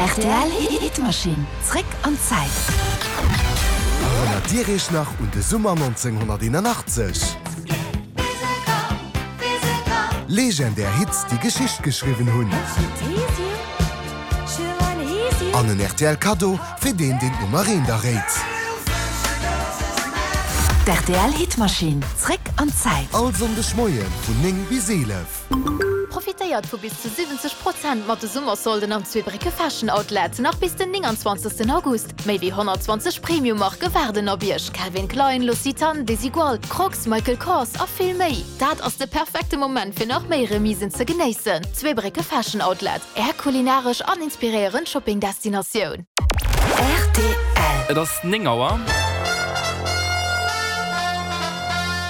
Rtl Hitmachine, zréck an d'Zäit. Erënnert Dir Iech nach un de Summer 1981? Legendär Hits, déi Geschicht geschriwwen hunn. An en rtl Kaddo fir deen, deen d'Nummer eent erréit. D'RTL Hitmachine, zréck an d'Zäit. All Sonndeg Moie vun 9 bis 11. Profitéiert vu bis zu 70 Prozent mat de Summersolden am Zweebrécke Fashion Outlet, nach bis den 29 August. Méi wéi 120 Premium-Marke waarden op Iech, Calvin Klein, L'Occitane, Desigual, Crocs, Michael Kors a vill méi. Dat ass de perfekte Moment fir nach méi Remisen ze genéissen. Zweebrécke Fashion Outlet, Är kulinaresch an inspiréierend Shopping-Destinatioun. Rtl. Et ass 9 Auer.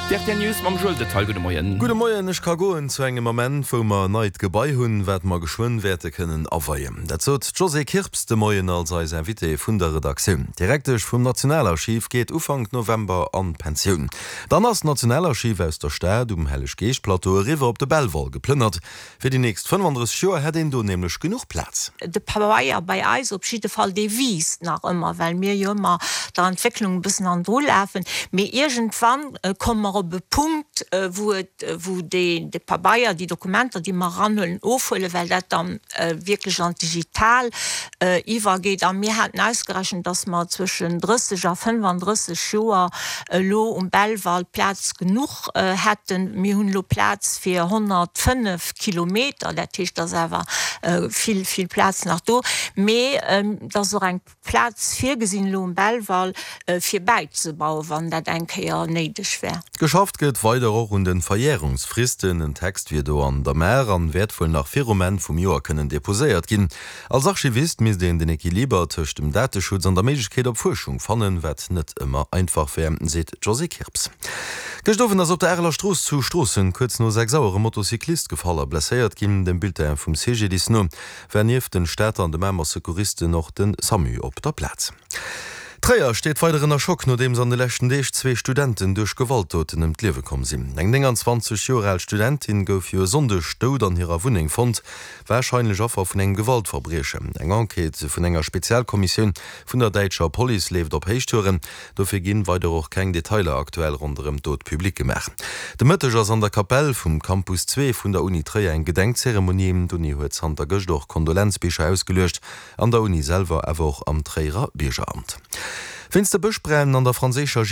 D'RTL News mam Joël Detaille. Gudde Moien. Gudde Moien. Ech ka goen zu engem Ament, wou mer en neit Gebai hunn, wat mer geschwënn wäerte kënnen aweien. Dat sot d'Josée Kirps de Moien als eis Invitée vun der Redaktioun. D'Direktesch vum Nationalarchiv geet Ufank November an d'Pensioun. Dann ass d'Nationalarchiv aus der Stad um Helleg-Geescht-Plateau eriwwer op de Belval geplënnert. Fir déi nächst 35 Joer hätt een do nämlech genuch Plaz. De Pabeier bei eis op jidde Fall, dee wiisst nach ëmmer, well mir jo ëmmer der Entwécklung e bëssen hannendru lafen. Mee iergendwann komme mer op e Punkt, wou et, wou dee, de Pabeier, déi Dokumenter, déi mer eranhuelen, ofhuelen, well dat dann wierklech an d'Digital iwwergeet. A mir haten ausgerechent, dass mer zwëschen 30 a 35 Joer elo um Belval Plaz genuch hätten. Mir hunn elo Plaz fir 105 Kilometer, dat heescht, et ass awer vill, vill Plaz nach do. Mee et ass och eng Plaz virgesinn elo um Belval, fir bäizebauen, wann dat eng Kéier néideg wär. Geschafft gëtt weider och un de Verjärungsfristen. En Text wier do an der Maach an wäert wuel nach virum Enn vum Joer kënnen deposéiert ginn. Als Archivist misst een den Equiliber tëscht dem Dateschutz an der Méiglechkeet op Fuerschung fannen, wat net ëmmer einfach wär, seet d'Josée Kirps. Gëscht Owend ass op der Areler Strooss zu Stroossen kuerz no 6 Auer e Motocyclist gefall a blesséiert ginn. Dem Bulletin vum CGDIS no war nieft den Stater an de Mamer Secouristen och de Samu op der Plaz. Tréier steet weider ënner Schock, nodeems an de leschten Deeg zwee Studenten duerch Gewaltdoten ëm d'Liewe komm sinn. Eng 29 Joer al Studentin gouf jo e Sonndeg dout an hirer Wunneng fonnt. Warscheinlech Affer vun engem Gewaltverbriechen. Eng Enquête vun enger Spezialkommissioun vun der däitscher Police leeft op Héichtouren. Dofir ginn weider och keng Detailer aktuell ronderëm d'Dot public gemaach. De Mëtteg ass an der Kapell vum Campus 2 vun der Uni Tréier eng Gedenkzeremonie. D'Uni huet zanter gëscht och Kondolenzbicher ausgeluecht, an der Uni selwer, awer och am Tréierer Biergeramt. Wéinst de Bëschbränn an der franséischer.